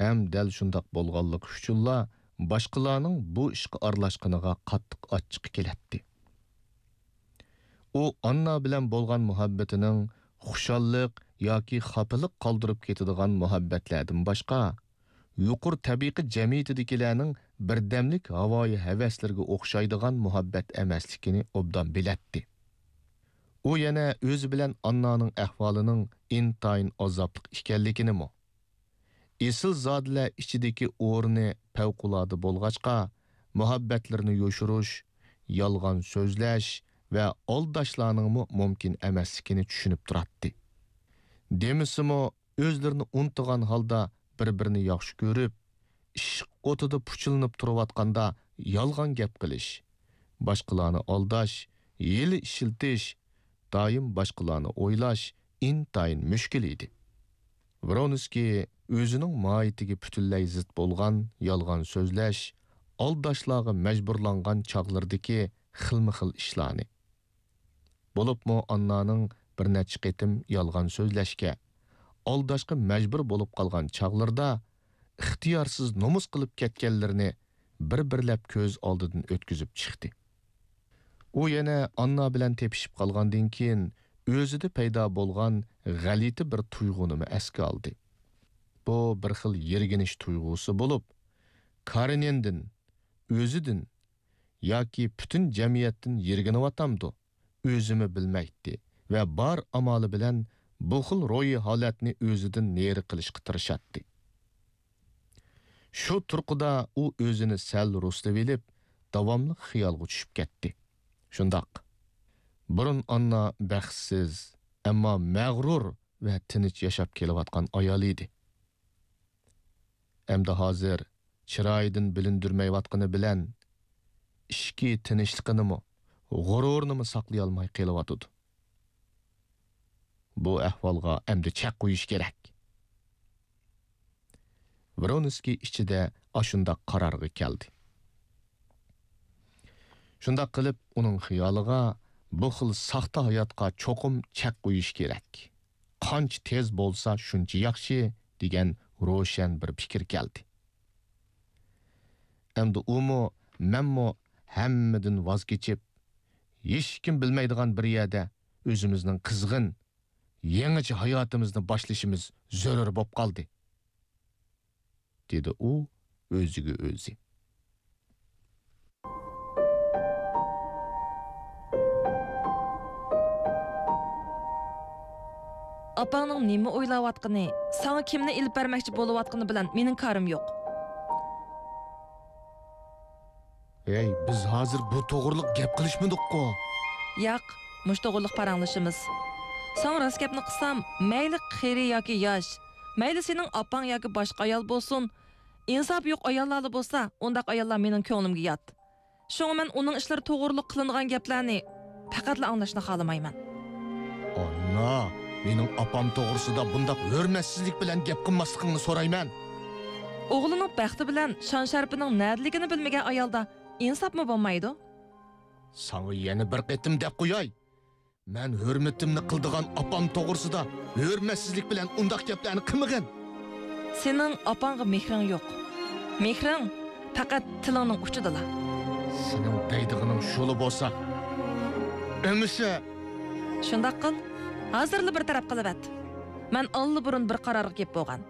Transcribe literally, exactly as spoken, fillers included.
ھەم دەل شۇنداق بولغانلىقى ئۈچۈنلا باشقىلارنىڭ بۇ ئىشقا ئارىلاشقىنىغا قاتتىق ئاچچىقى كېلەتتى. ئۇ ئاننا بىلەن بولغان مۇھەببىتىنىڭ خۇشاللىق ياكى خاپىلىق قالدۇرۇپ كېتىدىغان مۇھەببەتلەردىن باشقا، يۇقىرى تەبىقە جەمئىيىتىدىكىلەرنىڭ بىردەملىك ھاۋايى ھەۋەسلىرىگە ئوخشايدىغان مۇھەببەت ئەمەسلىكىنى ئوبدان بىلەتتى. ئۇ يەنە ئۆزى بىلەن ئاننانىڭ ئەھۋالىنىڭ ئىنتايىن ئازابلىق ئىكەنلىكىنىمۇ، ئېسىلزادىلەر ئىچىدىكى ئورنى پەۋقۇلئاددە بولغاچقا، مۇھەببەتلىرىنى يوشۇرۇش، يالغان سۆزلەش ۋە ئالداشلارنىڭمۇ مۇمكىن ئەمەسلىكىنى چۈشىنىپ تۇراتتى. دېمىسىمۇ، ئۆزلىرىنى ئۇنتۇغان ھالدا بىر-بىرىنى ياخشى كۆرۈپ، ئىشق ئوتىدا پۇچىلىنىپ تۇرۇۋاتقاندا يالغان گەپ قىلىش، باشقىلارنى ئالداش، ھىيلە ئىشلىتىش، دائىم باشقىلارنى ئويلاش ئىنتايىن مۈشكۈل ئىدى. ۋرونسكىي ئۆزىنىڭ ماھىيىتىگە پۈتۈنلەي زىت بولغان يالغان سۆزلەش، ئالداشلارغا مەجبۇرلانغان چاغلىرىدىكى خىلمۇ خىل ئىشلارنى، بولۇپمۇ ئاننانىڭ بىر نەچچە قېتىم يالغان سۆزلەشكە، ئالداشقا مەجبۇر بولۇپ قالغان چاغلىرىدا ئىختىيارسىز نومۇس قىلىپ كەتكەنلىرىنى بىر-بىرلەپ كۆز ئالدىدىن ئۆتكۈزۈپ چىقتى. ئۇ يەنە ئاننا بىلەن تېپىشىپ قالغاندىن كېيىن، ئۆزىدە پەيدا بولغان غەلىتە بىر تۇيغۇنىمۇ ئەسكە ئالدى. بۇ بىر خىل يىرگىنىش تۇيغۇسى بولۇپ، كارېنىندىن، ئۆزىدىن ياكى پۈتۈن جەمئىيەتتىن يىرگىنىۋاتامدۇ، ئۆزىمۇ بىلمەيتتى ۋە بار ئامالى بىلەن بۇ خىل روھىي ھالەتنى ئۆزىدىن نېرى قىلىشقا تىرىشاتتى. شۇ تۇرقىدا ئۇ ئۆزىنى سەل رۇسلىۋېلىپ، داۋاملىق خىيالغا چۈشۈپ كەتتى. شۇنداق. بۇرۇن ئاننا بەختسىز، ئەمما مەغرۇر ۋە تىنچ ياشاپ كېلىۋاتقان ئايال ئىدى. ئەمدى ھازىر چىرايىدىن بىلىندۈرمەيۋاتقىنى بىلەن، ئىچكى تىنچلىقىنىمۇ، غۇرۇرىنىمۇ ساقلىيالماي قېلىۋاتىدۇ. بۇ ئەھۋالغا ئەمدى چەك قويۇش كېرەك. ۋرونسكىي ئىچىدە ئاشۇنداق قارارغا كەلدى. شۇنداق قىلىپ، ئۇنىڭ خىيالىغا بۇ خىل ساختا ھاياتقا چوقۇم چەك قويۇش كېرەك. قانچە تېز بولسا، شۇنچە ياخشى، دېگەن روشەن بىر پىكىر كەلدى. ئەمدى ئۇمۇ، مەنمۇ ھەممىدىن ۋاز كېچىپ، ھېچكىم بىلمەيدىغان بىر يەردە ئۆزىمىزنىڭ قىزغىن، يېڭىچە ھاياتىمىزنى باشلىشىمىز زۆرۈر بولۇپ قالدى، دېدى ئۇ ئۆزىگە ئۆزى. ئاپاڭنىڭ نېمە ئويلاۋاتقىنى، ساڭا كىمنى ئېلىپ بەرمەكچى بولۇۋاتقىنى بىلەن مېنىڭ كارىم يوق. ھەي، بىز ھازىر بۇ توغرىلىق گەپ قىلىشمىدۇققۇ؟ ياق، مۇشۇ توغرىلىق پاراڭلىشىمىز. ساڭا راست گەپنى قىلسام، مەيلى قېرى ياكى ياش، مەيلى سېنىڭ ئاپاڭ ياكى باشقا ئايال بولسۇن، ئىنساپى يوق ئاياللارلا بولسا، ئۇنداق ئاياللار مېنىڭ كۆڭلۈمگە يات. شۇڭا مەن ئۇنىڭ ئىشلىرى توغرۇلۇق قىلىنغان گەپلەرنى پەقەتلا ئاڭلاشنى خالىمايمەن. ئاننا، مېنىڭ ئاپام توغرىسىدا بۇنداق ھۆرمەتسىزلىك بىلەن گەپ قىلماسلىقىڭنى سورايمەن. ئوغلىنىڭ بەختى بىلەن شان-شەرىپىنىڭ نەدىلىكىنى بىلمىگەن ئايالدا ئىنساپمۇ بولمايدۇ. ساڭا يەنە بىر قېتىم دەپ قوياي. مەن ھۆرمىتىمنى قىلىدىغان ئاپام توغرىسىدا ھۆرمەتسىزلىك بىلەن ئۇنداق گەپلەرنى قىلمىغىن. سېنىڭ ئاپاڭغا مېھرىڭ يوق. مېھرىڭ پەقەت تىلىڭنىڭ ئۇچىدىلا. سېنىڭ دەيدىغىنىڭ شۇلا بولسا، ئەمىسە. شۇنداق قىل، ھازىرلا بىر تەرەپ قىلىۋەت. مەن ئاللىبۇرۇن بىر قارارغا كېلىپ بولغان.